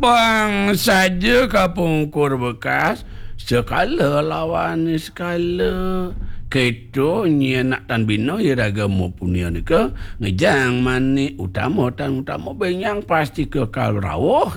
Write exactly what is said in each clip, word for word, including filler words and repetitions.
Wang saja kapungkur bekas, sekala lawan sekala. Keto nyi anak tan bina iraga mapuniha nika, ngejang manik utama tan utama benyang pasti kekal rauh.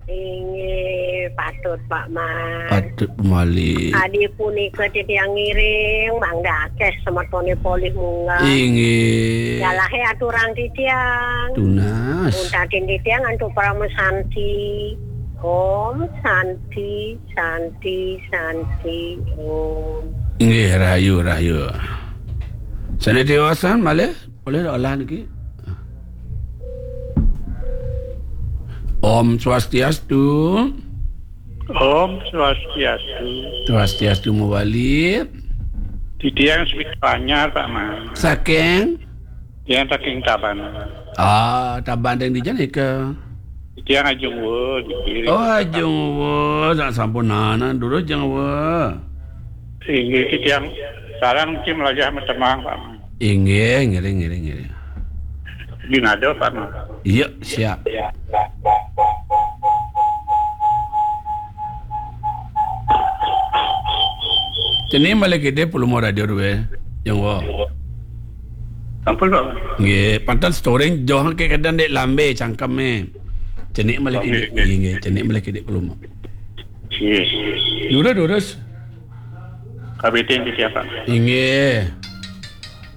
Inggih, patut, Pak Man. Patut pemali. Adi punika titiang ngiring, mangda akeh semetone polih munggah. Inggih. Jalahe aturang titiang. Tunas. Untatin titiang antuk parama santi. Om Santi, Santi, Santi, Om. Inggih, rahayu, rahayu. Sane tiwasan malih, polih olah niki. Om Swastiastu. Om Swastiastu. Swastiastu mawali. Titiang Smita Anyar, Pak Man. Saking? Tiang saking Tabanan. Ah, Tabanan ring dija nika? Tiang Ajung Wa, niki. Oh, Ajung Wa, sak sampunana, durus Ajung Wa. Inggih, tiang sareng niki mlajah matemang, Pak Man. Inggih, ngiring, ngiring, ngiring. Di nado, Pak Man. Iya, siap. Cening malih kidih peluma radio duwe, Ajung Wa. Sampun, Pak. Nggih, panten storing joh ke kedan dek lambe cangkeme. Cening malih kidih, nggih, nggih, cening malih kidih peluma. Nggih. Durus, durus. Kabitin di siapa? Inggih.